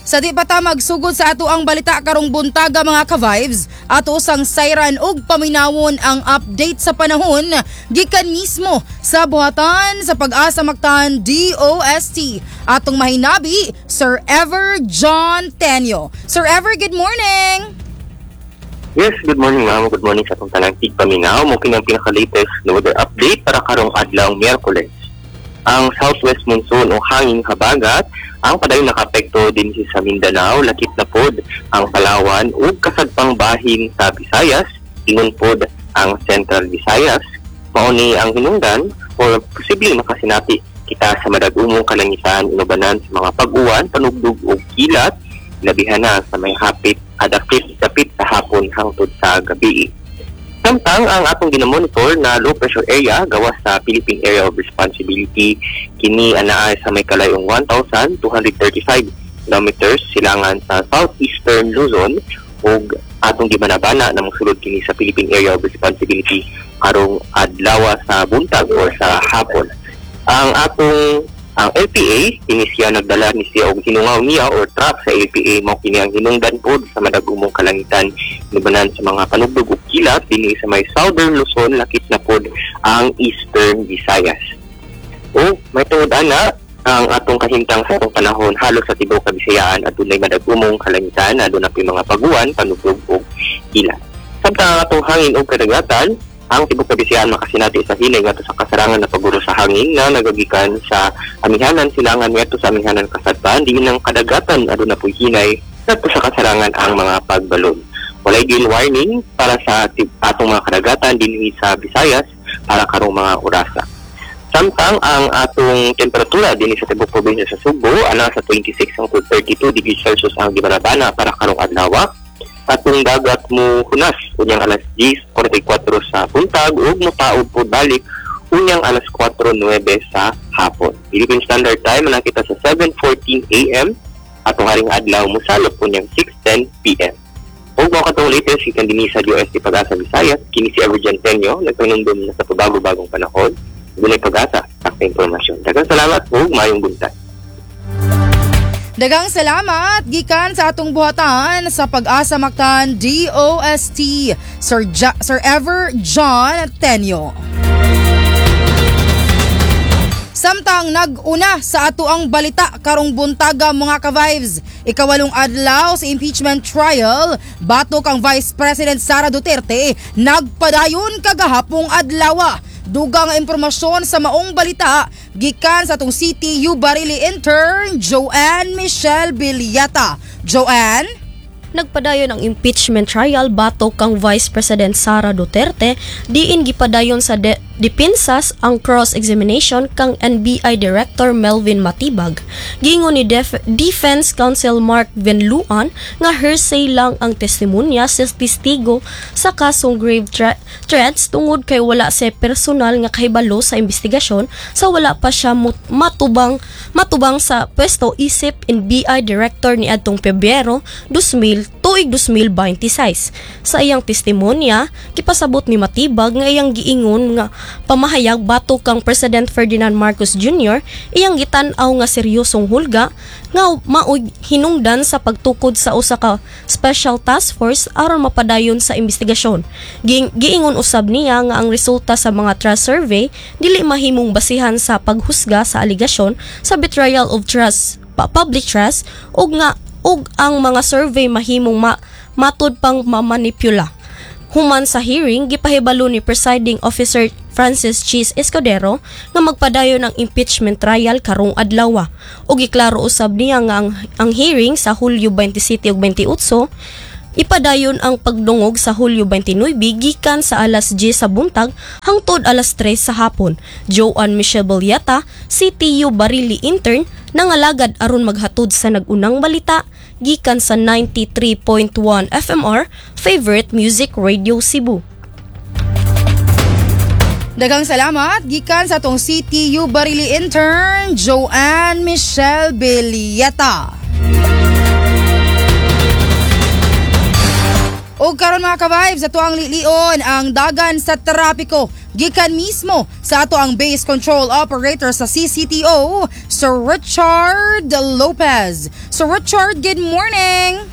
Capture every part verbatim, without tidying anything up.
Sa di pa ta magsugod sa ato ang balita karong buntaga, mga ka-vibes, ato sang sayran ug paminawon ang update sa panahon gikan mismo sa buhatan sa Pag-asa Mactan D O S T. Atong mahinabi, Sir Ever John Tenyo. Sir Ever, good morning! Yes, good morning, ma'am. Good morning sa atong tanang tigpaminaw. Mao kini ang pinaka-latest na weather update para karong adlaw Miyerkules. Ang southwest monsoon o hangin habagat ang padayon nakaapekto din sa Mindanao, lakip na pod ang Palawan ug kasadpang bahin sa Visayas, ingon pod ang Central Visayas. Mao ni ang hinungdan or posible makasinati kita sa madag-umong kalangitan inubanan sa mga pag-uwan, panugdog ug kilat, labihan na sa may hapit adapit dapit sa hapon hangtod sa gabi. Samtang ang atong ginamonitor na low pressure area gawas sa Philippine Area of Responsibility, kini anaa sa may kalayong one thousand two hundred thirty-five kilometers silangan sa southeastern Luzon ug atong gibanabana na mosulod kini sa Philippine Area of Responsibility karong adlaw sa buntag or sa hapon. Ang atong ang L P A kini siya nagdala ni siya og hinungaw niya or trough sa L P A. Mao kini ang hinungdan pod sa madagumong kalangitan inubanan sa mga panugdog ug kilat dinhi sa may southern Luzon, lakip na pod ang Eastern Visayas. O may tungod ana, ang atong kahimtang sa atong panahon halos sa tibuok Kabisayaan adunay madagumong kalangitan, aduna po'y mga paguan, panugdog ug kilat. Samtang ang atong hangin ug kadagatan, ang tibuok Kabisayaan makasinati sa hinay ngadto sa kasarangan na paguro sa hangin nga nagagikan sa amihanan silangan ngadto sa amihanan kasadpan. Diin ang kadagatan, aduna po'y hinay ngadto sa kasarangan ang mga pagbalon. Walay gale warning para sa tib- atong mga kadagatan dinhi sa Visayas para karong mga orasa. Samtang ang atong temperatura dinhi sa tibuok probinsya sa Sugbo ana sa twenty-six hangtod thirty-two degrees Celsius ang gibanabana para karong adlaw. Atong dagat mo hunas unyang alas diyes kwarenta y kwatro sa buntag ug motaob pod balik unyang alas kwatro nuwebe sa hapon. Philippine Standard Time, nakita sa seven fourteen A M. Atong haring adlaw mosalop unyang six ten P M. Ug mao katong latest gikan dinhi sa D O S T Pag-asa Visayas, kini si Evergen Tenyo, nagpanumdum na sa pabago-bagong panahon, dunay pag-asa sa impormasyon. Daghang salamat ug maayong buntag. Daghang salamat gikan sa atong buhatan sa Pag-asa Mactan D O S T, Sir, ja- Sir Ever John Tenyo. Samtang nag-una sa ato ang balita karong buntaga, mga ka-vibes, ikawalong adlaw sa impeachment trial batok ang Vice President Sara Duterte nagpadayon kagahapong adlaw. Dugang impormasyon sa maong balita gikan sa atong C T U Barili intern Joanne Michelle Villata. Joanne? Nagpadayon ang impeachment trial batok kang Vice President Sara Duterte, diin gipadayon sa de- depensas ang cross-examination kang N B I Director Melvin Matibag. Giingon ni Def- Defense Counsel Mark Vinluan nga hearsay lang ang testimonya sa testigo sa kasong grave thre- threats tungod kay wala siya personal nga kahibalo sa investigasyon sa wala pa siya mut- matubang matubang sa pwesto isip N B I Director ni adtong Pebrero two thousand tuig twenty twenty-six. Sa iyang testimonya, gipasabot ni Matibag nga iyang giingon nga pamahayag batok kang President Ferdinand Marcos Junior iyang gitan-aw nga seryosong hulga nga maoy hinungdan sa pagtukod sa usa ka special task force aron mapadayon sa investigasyon. Gi- giingon usab niya nga ang resulta sa mga trust survey dili mahimong basihan sa paghusga sa aligasyon sa betrayal of trust pa- public trust ug nga ug ang mga survey mahimong ma, matud pang mamanipula. Human sa hearing, gipahibalo ni presiding officer Francis Chiz Escudero nga magpadayon ang impeachment trial karong adlaw. Ug giklaro usab niya nga ang, ang hearing sa Hulyo twenty-seven ug twenty-eight ipadayon ang pagdungog sa Hulyo twenty-nine gikan sa alas diyes sa buntag hangtod alas tres sa hapon. Joanne Michelle Bolyata, C T U Barili intern, nangalagad aron maghatod sa nag-unang balita gikan sa ninety-three point one F M R Favorite Music Radio Cebu. Daghang salamat gikan sa atong C T U Barili intern Joanne Michelle Villeta. Og karon, mga ka-vibes, ato ang lilion ang dagan sa trapiko gikan mismo sa ato ang base control operator sa C C T O, Sir Richard Lopez. Sir Richard, good morning.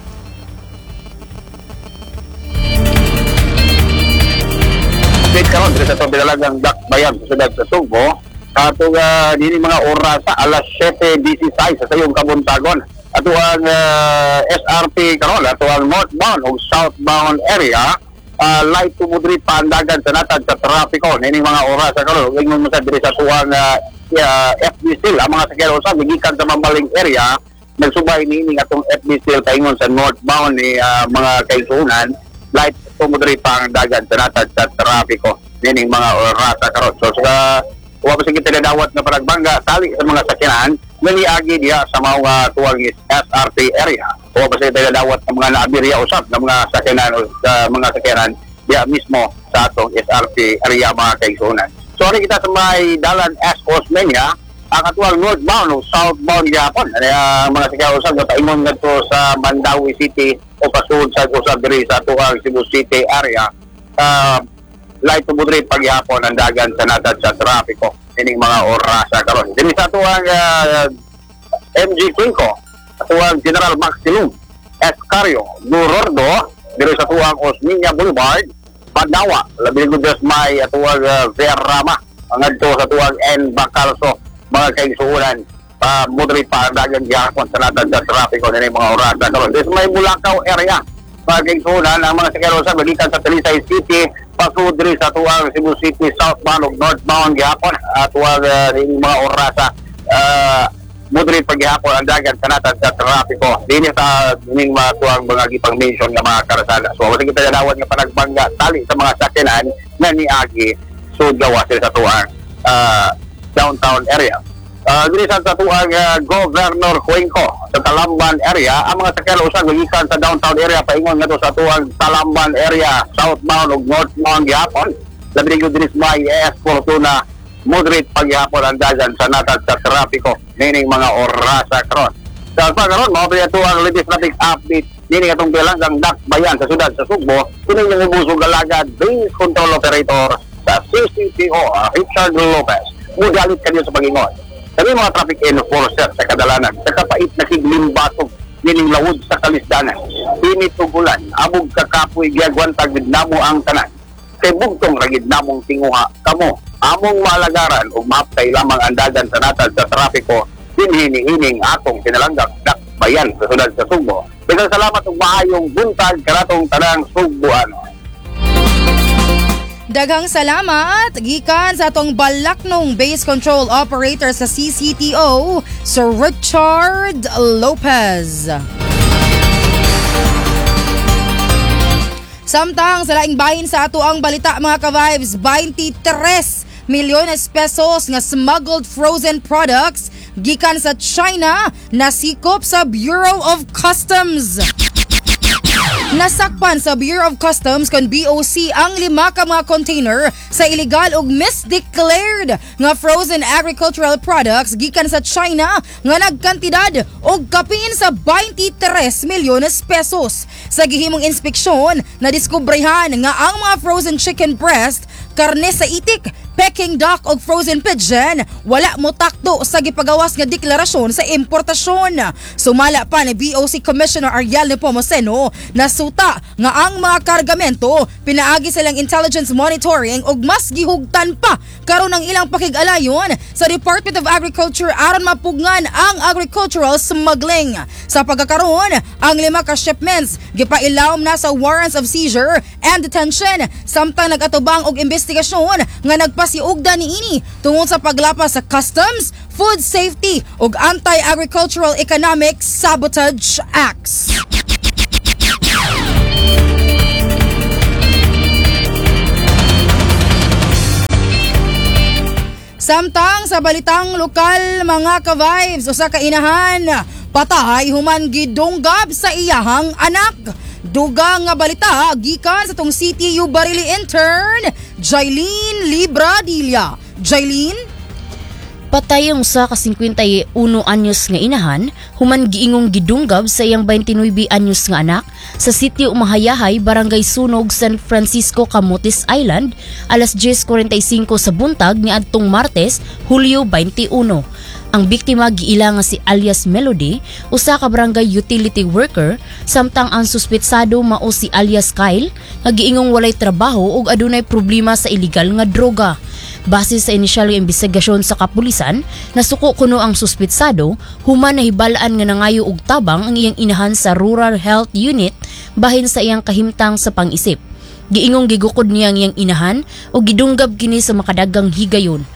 Update karon diri sa atong pinalagang Dakbayan sa siyudad sa Sugbo. Ato uh, dini mga orasa, alas siyete labing-siyam sa sayong kabuntagon. Ato ang uh, S R T karon, ato ang northbound o southbound area, uh, light to moderate pa ang dagan sa natad sa trapiko nining mga orasa karon. Ug ingon mo sa diri sa atuang uh, uh, F B Steel, ang mga sakyanan usab gikan sa Mambaling area nagsubay niini atong F B Steel paingon sa northbound ni uh, mga kaigsuonan, light to moderate pa ang dagan sa natad sa trapiko nining mga orasa karon. So sa wa pa sige tinadawat nga panagbangga tali sa mga sakyanan nga niagi diha sa mga uh, tuwang S R T area. Wa pa sige tinadawat ng mga naabirya usab ng mga sakyanan o sa mga sakyanan diha mismo sa atong S R T area, mga kaigsuonan. So ari kita sa may dalan S. Osmeña, ang atuang northbound o southbound gyapon. Ano ang mga sakyanan usab nga paingon ngadto sa Mandaue City o pasud sa usab diri sa atuang Cebu City area. Uh, light to moderate pagyapon ang dagan sa natad sa trapiko ining mga orasa karon. Dinhi sa atuang uh, M G Cuenco, atuang General Maximum Escario, Gorordo, diri sa atuang Osmeña Boulevard, Padawa, labi gud may atuang uh, Verama, ang adto sa atuang N. Bacalso, mga kaigsuonan, uh, moderate pa ang dagan gyapon sa natad sa trapiko nining mga orasa karon. Diri sa may Bulacau area, mga kaigsuonan, ang mga sakyanan sa gikan sa Talisay City pasud diri sa tuwang Cebu City southbound ug northbound gihapon, atuang uh, ning mga orasa, uh, moderate paghihapon ang dagan sa natad sa trapiko dinhi sa ning mga tuwang mga gipang mention nga mga karsada. So wala kita nadawat nga panagbangga tali sa mga sakyanan nga niagi sud gawas sa tuwang uh, downtown area. Uh, diri sa tuwang uh, Governor Cuenco sa Talamban area, ang mga sakyanan usab gikan sa downtown area paingon ngadto sa tuwang Talamban area southbound ug northbound gihapon, labi gyud diri sa may A S Fortuna, moderate paghihapon ang dagan sa natad sa trapiko nining mga orasa karon. Sa pa karon, mao pa ato ang latest traffic update nining atong bilanggang Dakbayan sa syudad sa Sugbo. Kini yung ubos galagad base control operator sa C C T O, Richard Lopez. Mudalit kanyo sa pag-ingon. Kami mga traffic enforcer sa kadalanan, sa kapait na kiglimbatog, nining lawod sa kalisdanan. Init ug ulan, abog kakapoy, giagwantag gid namo ang tanan. Kay bugtong ra gid namong tinguha, kamo, among maalagaran ug maaptay lamang ang dagan sa natad sa trapiko, dinhi niining atong kinalanggak Dakbayan sa syudad sa Sugbo. Daghang salamat ug maayong buntag kanatong tanang Sugboano. Daghang salamat gikan sa atong balaknong base control operator sa C C T O, Sir Richard Lopez. Samtang sa laing bahin sa ato ang balita, mga ka-vibes, twenty-three milyones pesos nga smuggled frozen products gikan sa China nasikop sa Bureau of Customs. Nasakpan sa Bureau of Customs kon B O C ang lima ka mga container sa illegal ug misdeclared nga frozen agricultural products gikan sa China nga nagkantidad og kapin sa twenty-three milyones pesos. Sa gihimong inspeksyon, nadiskubrehan nga ang mga frozen chicken breast, karne sa itik, Peking duck ug frozen pigeon wala mo takdo sa gipagawas nga deklarasyon sa importasyon. Sumala pa ni B O C Commissioner Ariel Nepomuceno, nasuta nga ang mga kargamento pinaagi sa ilang intelligence monitoring ug mas gihugtan pa karon ang ilang pakig-alayon sa Department of Agriculture aron mapugngan ang agricultural smuggling. Sa pagkakaroon, ang lima ka shipments gipailawom na sa warrants of seizure and detention samtang nagatubang og investigasyon nga nagpasiugda niini tungod sa paglapas sa Customs, Food Safety ug Anti-Agricultural Economic Sabotage Acts. Samtang sa balitang lokal, mga ka-vibes, usa ka inahan patay human gidunggab sa iyahang anak. Dugang nga balita gikan sa tong C T U Barili intern Jailene Libradilla. Jailene? Patay ang usa ka singkwenta y uno anyos nga inahan human giingong gidunggab sa iyang baynte nuwebe anyos nga anak sa sitio Mahayahay, Barangay Sunog, San Francisco, Camotes Island alas diyes kwarenta y singko sa buntag niadtong Martes, Hulyo baynte uno. Ang biktima giila nga si alias Melody, usa ka barangay utility worker, samtang ang suspetsado mao si alias Kyle nga giingong walay trabaho ug adunay problema sa illegal nga droga. Base sa inisyal nga imbestigasyon sa kapulisan, nasuko kuno ang suspetsado human nahibalaan nga nangayo og tabang ang iyang inahan sa Rural Health Unit bahin sa iyang kahimtang sa pangisip. Giingong gigukod niya ang iyang inahan ug gidunggab kini sa makadagang higayon.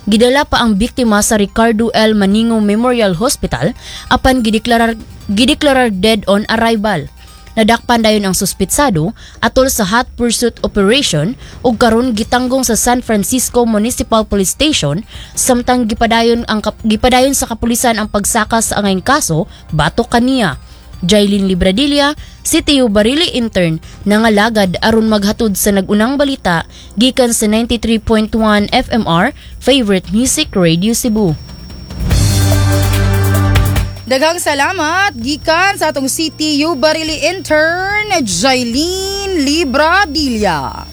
Gidala pa ang biktima sa Ricardo L. Maningo Memorial Hospital apan gideklarar gideklarar dead on arrival. Nadakpan dayon ang suspetsado atol sa hot pursuit operation ug karon gitanggong sa San Francisco Municipal Police Station samtang gipadayon ang kap- gipadayon sa kapulisan ang pagsaka sa angayng kaso batok kaniya. Jailin Libradilla, C T U Barili intern, nangalagad aron maghatod sa nag-unang balita gikan sa ninety-three point one F M R Favorite Music Radio Cebu. Daghang salamat gikan sa atong C T U Barili intern, Jailene Libradilla.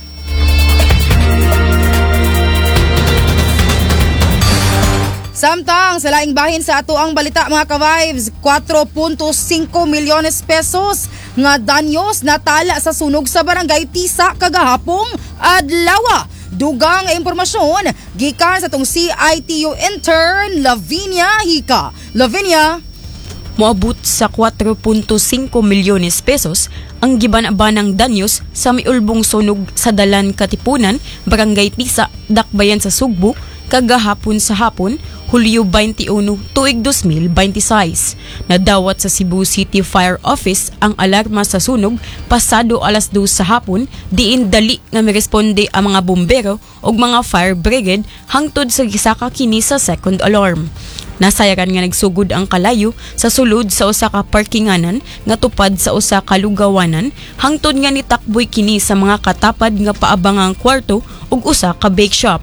Samtang sa laing bahin sa ato ang balita, mga ka-vibes, kwatro punto singko milyones pesos nga danyos natala sa sunog sa Barangay Tisa kagahapong adlaw. Dugang nga impormasyon gikan sa atong C I T U intern, Lavinia Hika. Lavinia? Moabot sa kwatro punto singko milyones pesos ang giban-banang danyos sa miulbong sunog sa Dalan Katipunan, Barangay Tisa, Dakbayan sa Sugbo, kagahapon sa hapon, Hulyo baynte uno, tuig dos mil baynte sais. Nadawat sa Cebu City Fire Office ang alarma sa sunog pasado alas dos sa hapon, diin dali nga miresponde ang mga bumbero ug mga fire brigade hangtod sa gisaka kini sa second alarm. Nasayaran nga nagsugod ang kalayo sa sulod sa usa ka parkinganan nga tupad sa usa ka lugawanan hangtod nga nitakboy kini sa mga katapad nga paabangang kwarto ug usa ka bake shop.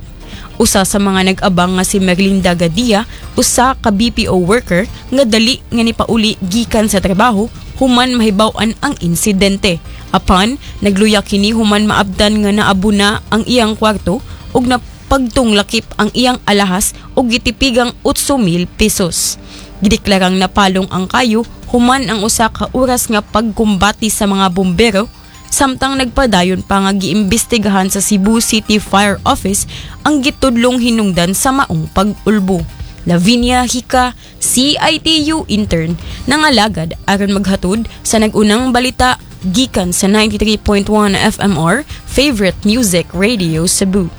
Usa sa mga nag-abang nga si Merlinda Gadia, usa ka B P O worker nga dali nga nipauli gikan sa trabaho human mahibaw-an ang insidente. Apan nagluya kini human maabdan nga naabuna ang iyang kwarto ug napagtunglakip ang iyang alahas ug gitipigang otso mil pesos. Gideklarang napalong ang kayo human ang usa ka oras nga pagkumbati sa mga bumbero, samtang nagpadayon pa nga giimbestigahan sa Cebu City Fire Office ang gitudlong hinungdan sa maong pag-ulbo. Lavinia Hika, C I T U intern, nangalagad aron maghatod sa nag-unang balita gikan sa ninety-three point one F M R Favorite Music Radio Cebu.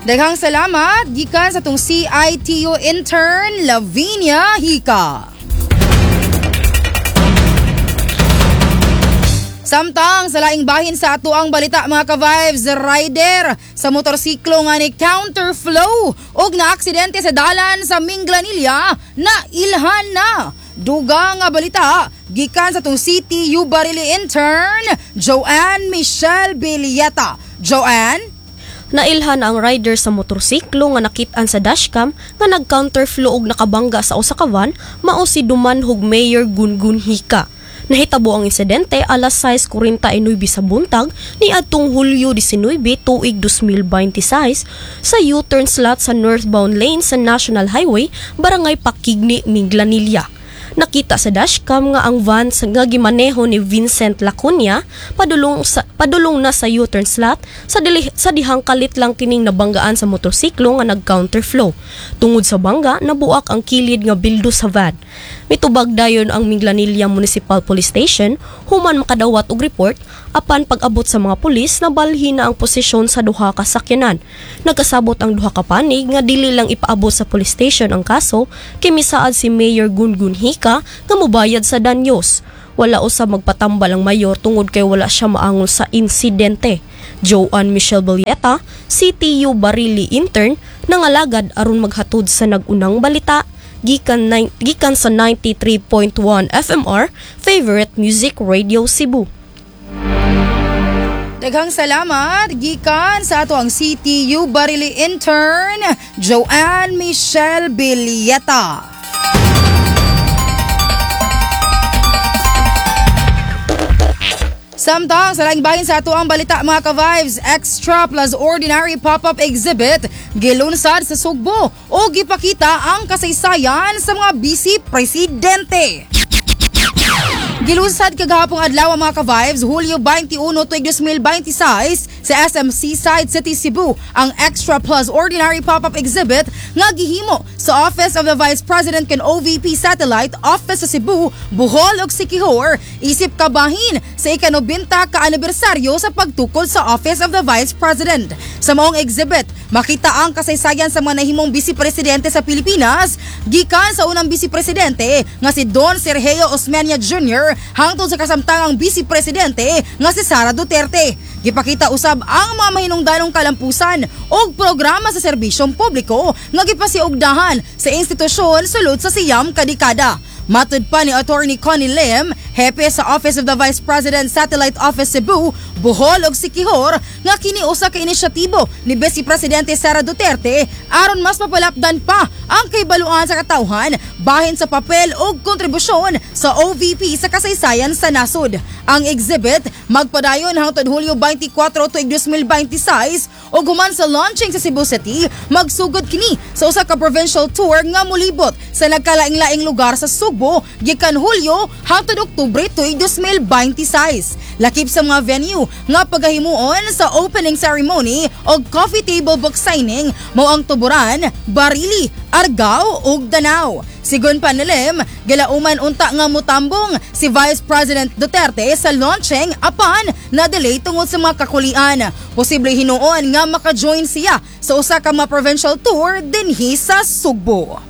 Daghang salamat gikan sa atong C I T U intern, Lavinia Hika. Samtang sa laing bahin sa ato ang balita, mga ka-vibes, rider sa motorsiklo nga ni counterflow ug naaksidente sa dalan sa Minglanilla na ilhan na. Dugang nga balita gikan sa atong C T U Barili intern, Joanne Michelle Villeta. Joanne? Nailhan ang rider sa motorsiklo nga nakit-an sa dashcam nga nag-counterflow og nakabangga sa usa ka van mao si Dumanhog Mayor Gungun Hika. Nahitabo ang insidente alas sais kwarenta y nuwebe sa buntag ni adtong Hulyo disnuyebe tuig dos mil baynte sais sa U-turn slot sa northbound lane sa National Highway, Barangay Pakigni, Minglanilla. Nakita sa dashcam nga ang van sa nga gimaneho ni Vincent Lacunya padulong sa, padulong na sa U-turn slot sa dili, sa dihang kalit lang kining nabanggaan sa motorsiklo nga nag-counterflow. Tungod sa bangga, nabuak ang kilid nga bildo sa van. Mitubag dayon ang Minglanilla Municipal Police Station human makadawat og report, apan pag-abot sa mga pulis, nabalhin na ang posisyon sa duha ka sakyanan. Nagkasabot ang duha ka panig nga dili lang ipaabot sa police station ang kaso kay misaad si Mayor Gungun Hika nga mobayad sa danyos. Wala usab magpatambal ang mayor tungod kay wala siya maangol sa insidente. Joanne Michelle Villeta, C T U Barili intern, nangalagad aron maghatod sa nag-unang balita gikan, nine, gikan sa ninety-three point one F M R Favorite Music Radio Cebu. Daghang salamat gikan sa ato ang C T U Barili intern, Joanne Michelle Villeta. Samtang sa laing bahin sa ato ang balita, mga ka-vibes, extra plus ordinary pop-up exhibit gilunsad sa Sugbo o gipakita ang kasaysayan sa mga bise presidente. Gilunsad kagahapong adlaw, mga ka-vibes, Hulyo twenty-one tuig twenty twenty-six sa S M Seaside City, Cebu ang Extra Plus Ordinary Pop-up Exhibit nga gihimo sa Office of the Vice President kan O V P Satellite Office sa Cebu, Bohol ug Siquijor isip kabahin sa ikanobenta ka anibersaryo sa pagtukod sa Office of the Vice President. Sa maong exhibit, makita ang kasaysayan sa mga nahimong vice presidente sa Pilipinas gikan sa unang vice presidente nga si Don Sergio Osmeña Junior hangtod sa kasamtangang vice presidente nga si Sara Duterte. Gipakita usab ang mga mahinungdanong kalampusan og programa sa serbisyong publiko nga gipasiugdahan sa institusyon sulod sa siyam ka dekada. Matud pa ni Attorney Connie Lim, hepe sa Office of the Vice President Satellite Office Cebu, Bohol ug Siquijor nga kini usa ka inisyatibo ni Vice Presidente Sara Duterte aron mas mapalapdan pa ang kaibaluan sa katawhan bahin sa papel ug kontribusyon sa O V P sa kasaysayan sa nasod. Ang exhibit magpadayon hangtod Hulyo twenty-four tuig twenty twenty-six ug human sa launching sa Cebu City, magsugod kini sa usa ka provincial tour nga molibot sa nagkalaing-laing lugar sa Sugbo gikan Hulyo hangtod Oktubre tuig twenty twenty-six. Lakip sa mga venue nga pagahimuon sa opening ceremony og coffee table book signing mao ang Tuburan, Barili, Argao ug Danao. Sigon pa ni Lim, gilauman unta nga mutambong si Vice President Duterte sa launching apan na delay tungod sa mga kakulian. Posible hinuon nga maka-join siya sa usa ka mga provincial tour dinhi sa Sugbo.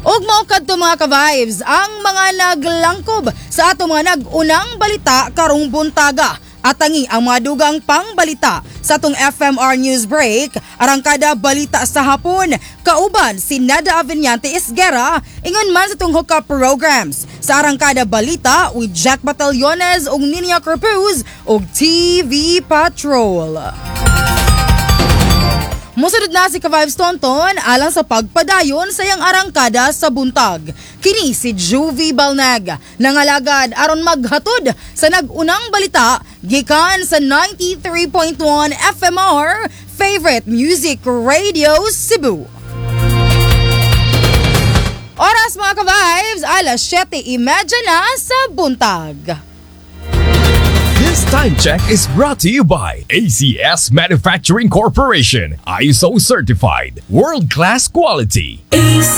Ug mao kadto, mga ka-vibes, ang mga naglangkob sa ato mga nag-unang balita karong buntaga. Atangi ang mga dugang pangbalita sa atong F M R News Break, Arangkada Balita sa Hapon, kauban si Nada Aveniante Esguera, ingon man sa atong hookup programs. Sa Arangkada Balita with Jack Batallones ug Ninia Corpuz ug T V Patrol. Musunod na si Ka-Vibes Tonton alang sa pagpadayon sa iyang arangkada sa buntag. Kini si Juvie Balnag, nangalagad aron maghatod sa nag-unang balita gikan sa ninety-three point one F M R Favorite Music Radio Cebu. Oras, mga ka-vibes, alas seven thirty na sa buntag. This time check is brought to you by A C S Manufacturing Corporation, I S O certified, world-class quality. A C S.